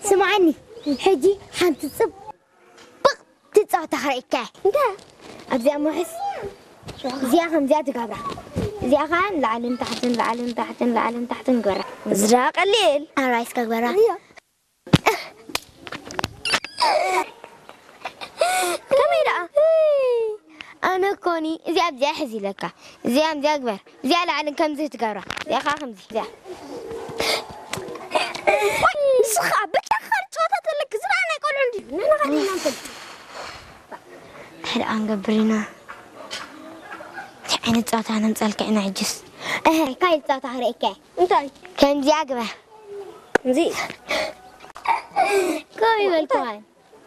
ስምዓኒ፣ ሕጂ ሓንቲ ጽብቕቲ ጸወታ ክርእየካ እየ። እንታይ? ኣብዚኣ ምውሕስ፣ እዚኣ ከምዚኣ ትገብራ። እዚኣ ኸኣ ንላዕልን ታሕትን፣ ላዕልን ታሕትን፣ ላዕልን ታሕትን ግበራ። እዚ ደኣ ቀሊል። ኣራይ እስከ ግበራ። እያ። ከመይ ደኣ? ኣነ ኮኒ እዚኣ ኣብዚኣ ሕዚ ኢለካ። እዚኣ ኣብዚኣ ግበር። እዚኣ ላዕልን ከምዚ ትገብራ። እዚኣ ኸዓ ከምዚ። እዚኣ። ወይ፣ ንስኻ ብቻኻ ጨዋታ ተለክ ዝረኣ ናይ ቆልዑ እንዲ። ንሕና ኸዲና ንፈልጥ። እንታይ ደኣ ንገብር ኢና? እንታይ ዓይነት ጸወታ ነምጻልካ ኢና ሕጅስ? እህ፣ ካይል ጸወታ ክርእየካ እየ። እንታይ? ከምዚኣ ግበር። እዚ? ከመይ በልኩዋን?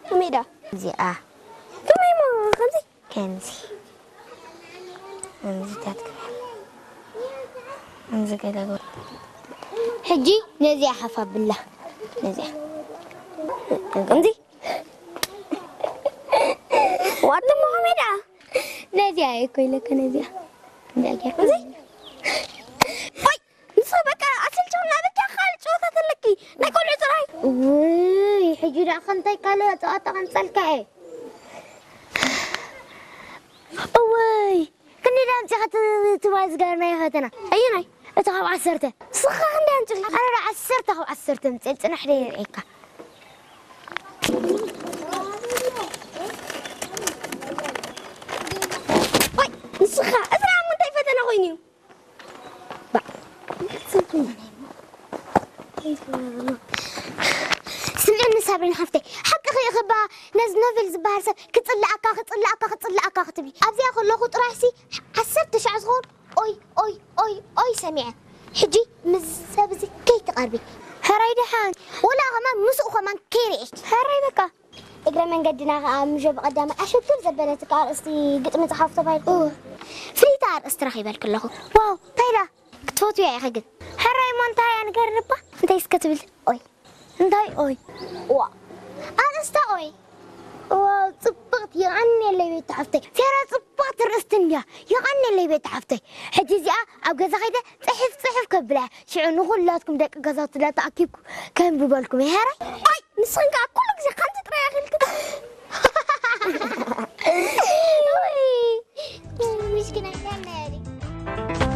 ከመይ ደኣ? እዚኣ። ከመይ እሞ ከምዚ? ከምዚ። ከምዚታት ግበር። ከምዚ ገለ ግበር። ሕጂ ነዚኣ ሓፍ ኣብላ። ነዚኣ። ከምዚ? ዋት እሞ ከመይ ደኣ? ነዚኣ እየ እኮ ኢለካ፣ ነዚኣ። ነዚኣ ጌርካ። እዚ? ወይ! ንስኺ በቃ ኣሰልቸውና፣ በቃ ካልእ ጨዋታ ተለኪ። ናይ ቆልዑ ጥራይ። ውይ፣ ሕጂ ደኣ ከምታይ ካልእ ጸዋታ ከምጸልካ እየ። እወይ፣ ክንደይ ደኣ ኣምጺኻ ት-፣ ትባል ዝገበርናዮ ፈተና? ኣየናይ? እቲ ካብ ዓሰርተ። ንስኻ ክንደይ ኣምጺኻ? ኣነ ደኣ ዓሰርተ ካብ ዓሰርተ ኣምጺኤ፣ ጽናሕ ደኣ የርእየካ። ወይ፣ ንስኻ፣ እዚ ደኣ እሞ እንታይ ፈተና ኮይኑ እዩ? ስምዕኒ ሳብሪን ሓፍተይ፣ ሓቅኺ ኢኺ እባ፣ ነዚ ኖቬል ዝበሃል ሰብ ክጽልኣካ፣ ክጽልኣካ፣ ክጽልኣካ ክትብሊ። ኣብዚኣ ከለኹ ጥራይሲ ዓሰርተ ሻዕ ዝኸውን ኦይ፣ ኦይ፣ ኦይ፣ ኦይ ሰሚዐ። ሕጂ ምስ ሰብ እዚ ከይትቐርቢ። ሕራይ ደሓን። ወላ ከማን ምስኡ ከማን ከይርእየኪ። ሕራይ በቃ። እግረ መንገድና ኸኣ ምሾ ብቐዳማይ ኣሸግር ዘበለትካ ኣርእስቲ ግጥሚ ጸሓፉ ተባሂልኩ። ኡ፣ ፍልይቲ ኣርእስቲ ረኺበልኪ ኣለኹ። ዋው፣ እንታይ ደኣ? ክትፈትውያ ኢኺ ግን። ሕራይ እሞ እንታይ እያ ንገርኒ እባ? እንታይ እስከ ትብል? ኦይ። እንታይ ኦይ? ዋ። ኣርእስታ ኦይ። ዋው፣ ጽብቕቲ፣ የቐንየለይ ቤት ሓፍተይ። ፌራ ጽብቕቲ ኣርእስቲ እንድያ። የቐንየለይ ቤት ሓፍተይ። ሕጂ እዚኣ ኣብ ገዛ ከይደ ጽሕፍ ጽሕፍ ከብላ። ሽዑ ንኹላትኩም ደቂ ገዛውትና ተኣኪብኩ ከንብበልኩም እየ። ሕራይ? ኣይ፣ ንስኽን ከኣ ኩሉ ግዜ ከምዚ ጥራይ ኣኺልክን። ውይ፣ ምስኪናይ።